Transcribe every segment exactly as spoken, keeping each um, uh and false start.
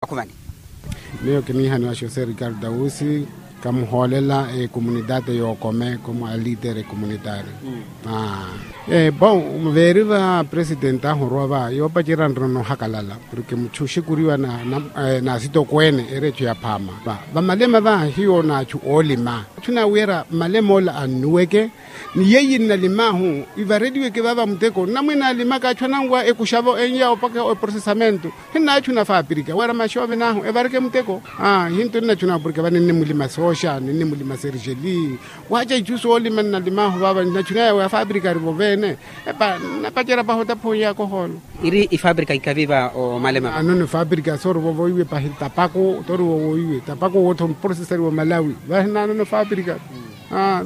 Akhuvani. Miyo kiniihaniwa josé ricardo ausi, kamuhoolela ekomunitaate y'okome komu alitere ekomunitaare. Bon, veeri va presidenti ahu orwa va yoopacerya nrono ohakalala, porke muchu oxikuriwa n'asitokweene eri echu ya phaama. Vamalema va hiyo n'achu oolima, achu naawiira malema ola annuweke. Ni yeiye nnalim'ahu ivareliweke vaava muteko nnamwene alimaka achu ananwa ekuxavo enya opaka eprosesamentu. Hinnaachu na faaprika wira maxoove n'ahu evareke muteko. Hintu nnachu na opurika vani nnimulima sooxa nnimulima sergeli. Waaca ichu soolima nnalim'ahu vaava nnachu naya wa faaprika arivo veene. Epa nnapacerya pahi otapha oyakohoolo. Iri ifaaprika ikavi va omalema vano ni faaprika soorivo voiwe pahi tapaku torivo voiwe tapaku wootho mprosesari wa malawi. Vahi nnaanono faaprika.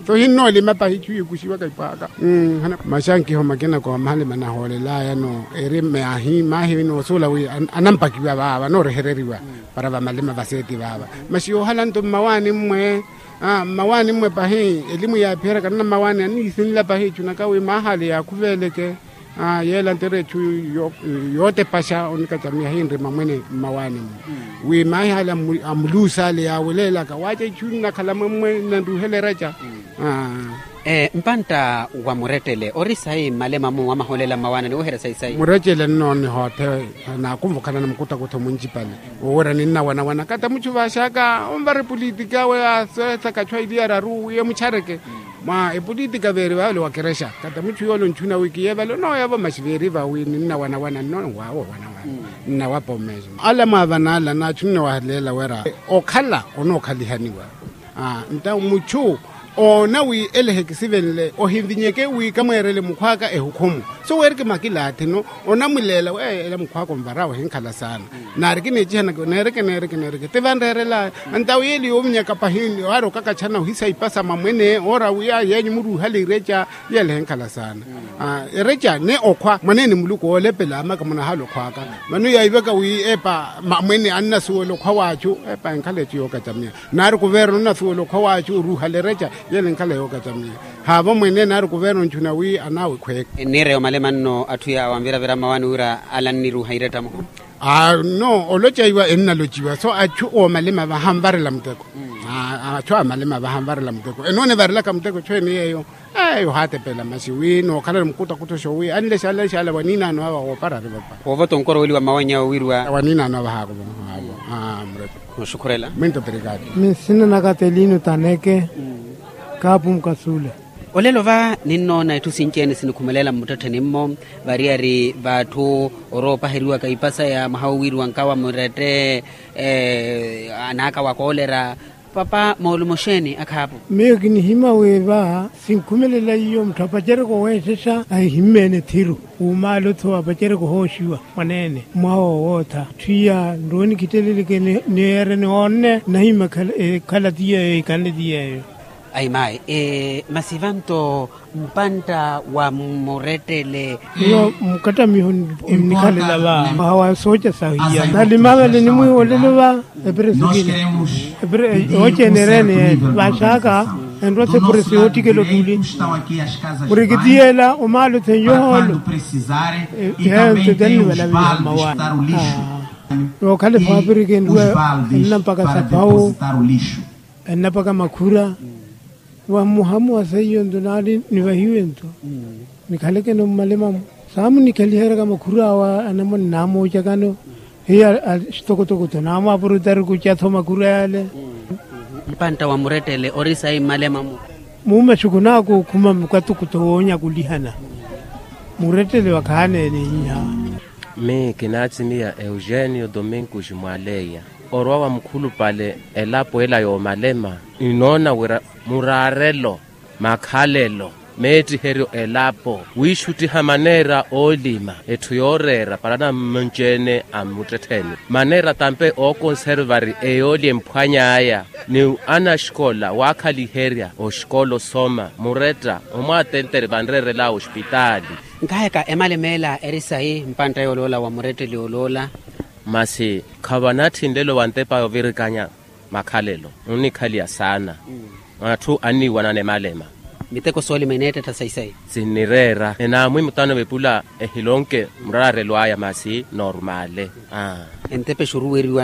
Tohinnoolima pahi ichu yikuxiwaka ipwaaka. Maxankiho makina ko mahalima nahoolelaya no eri maahi maahi noosuula wi anampakiwa vaava noorehereriwa para vamalima vaseeti vaava. Maxi yoohala nto mmawaani mmwe mmawaani mmwe pahi elimu yaapiherya kanana mmawaani aniisinla pahi ichunaka wi maahale yaakuveeleke. Yeela nto eri echu yootepaxa onikacamiya hinri mamwene mmawaani mmwe wi maahi hale amuluusa ale yaaweleelaka waaca ichu nnakhala mwemmwe nnanruuhela ereca. Mpantta wa murettele ori sayi mmalemamu wamaholela mmawaanani wooherya sayi sayi. Murettele nnooniha othe naakumvukhalana mukutakutho munjipale. Woowira ninnawanawana kata muchu vaaxaka onvara epolitika awe aseethaka achu aili araru wi emuchareke. Mwa epolitika veeri vaavele wa kerexa kata muchu yoole onchuna wi kiyeevale onooyavo maxi veeri vawi ninnawanawana nnoowaawo wanawana. Nnawapa omeexa ala mwaavana ala naachu nnoowahaleela wira okhala onookhalihaniwa. Nta muchu oona wi ele ehekisivenle ohinvinyeke wi kamweerele mukhw'aka ehukhumu. So weeriki makilaathi no onamuleela wi ela mukhw'aka onvara ohinkhala saana. Naari kiniicihanaka neereke neereke neereke ti vanreerelaya. Nta wi ele yoovinyaka pahi aari okakachana ohisa ipasa mamwene oora wi ayi yenyu muruuhale ireca. Yele henkhala saana ereca ni okhwa mwaneene muluku oolepela amaka munahala okhw'aka. Vano yaiveka wi epa mamwene annasuwela okhwa w'achu epa enkhala echu yookacamiya. Naari kuverno nnasuwela okhwa w'achu oruuhala ereca. Yele enkhala yookacamiya haavo mwene naari kuverno nchuna wi anaawe khweeke. Enniireya omalema nno atthu yaawanviravira mmawaani wira ala anniruuha irettamu. No olocaiwa ennalociwa so achu oomalema vahanvarela muteko. Achu amalema vahanvarela muteko enoonivarilaka muteko echu eni yeeyo. Eyo haatepela maxi wi nookhalana mukutakutho xoowi anlexalexala waniinaano ava woopara arivopa. Woovota onkoro weliwa mmawanyawo wiriwa waniinaano ava haakuvonha avo. Murettele. Nooxukhurela. Minto pirikati. Minsina naka telino taneke kaapu mukasuula. Olelo va ninnoona itthu sinci-ene sinikhumelela mmuttettheni-mmo. Variyari v'atthu oroopaheriwaka ipasa ya mwaha wowiiriwa nkawa murette anaaka wa koolera. Papa moolumo xeeni akhaapu? Miyo kinihima wi va sinkhumelela iyo mutthu apacereke oweexexa ahihimmeene thiru. Wumaala-tho apacereke ohooxiwa mwaneene mwaha wowootha. Tthwiya nrooni kitteleleke niyeere niwoonne nahima ekhala ti yeeyo ikanle ti yeeyo. Ayi mayi. Masi vanto mpantta wa murettele. Iyo mukattamiho nnikhalela va mwaha wa sooca sahu iya nalima vale nimwiiwolelo va. Epresi kina yooceene ereene yeene vaaxaka enrwa-tho epresi yoottikela ottuli. Murikitiyela omaala otheinya ohoolo. Eyo nto tennivalaviha mmawaani. Yookhala efaapirika enrwa enna mpaka sapawu. Ennapaka makhura. Vamuhamu wa seiyo nto naari nivahiwe nto nikhaleke-no mmalemamu. Saamunikhaliheryaka makhura awo anamwane naamoocaka-no hiyo axitokotoko-tho naamwaapurutari kuca-tho makhura yale. Mpantta wa murettele ori sayi mmalemamu. Muumaxuku naakuukhuma mukatuku-tho woonyakulihana. Murettele wakhaana ene iha. Mii kinaatimiya eugenio dominkus mwaleya. Orwa wa mukhulupale elapo ela yoomalema ninoona wira muraarelo makhalelo meettiheryo elapo wiixuttiha maneera oolima etthu yooreera para nammonci-ene a mmuttettheni maneera tampe ookonservari eyooli emphwany'aya ni anaxikola waakhaliherya oxikola osoma muretta omwaatentere vanreerel'awe oxipitaali. Nkaheka emalema ela eri sayi mpantta yooloola wa muretteli yooloola. Masi khavanatthi nlelo wa ntepa yovirikanya makhalelo onnikhaliya saana. Atthu anniiwanana emalema. Miteko soolima eneettetta sayi sayi. Sinnireera enaamwi mutano vepula ehilonke muraarelo aya masi normale. Aa. entepe xuruweriwa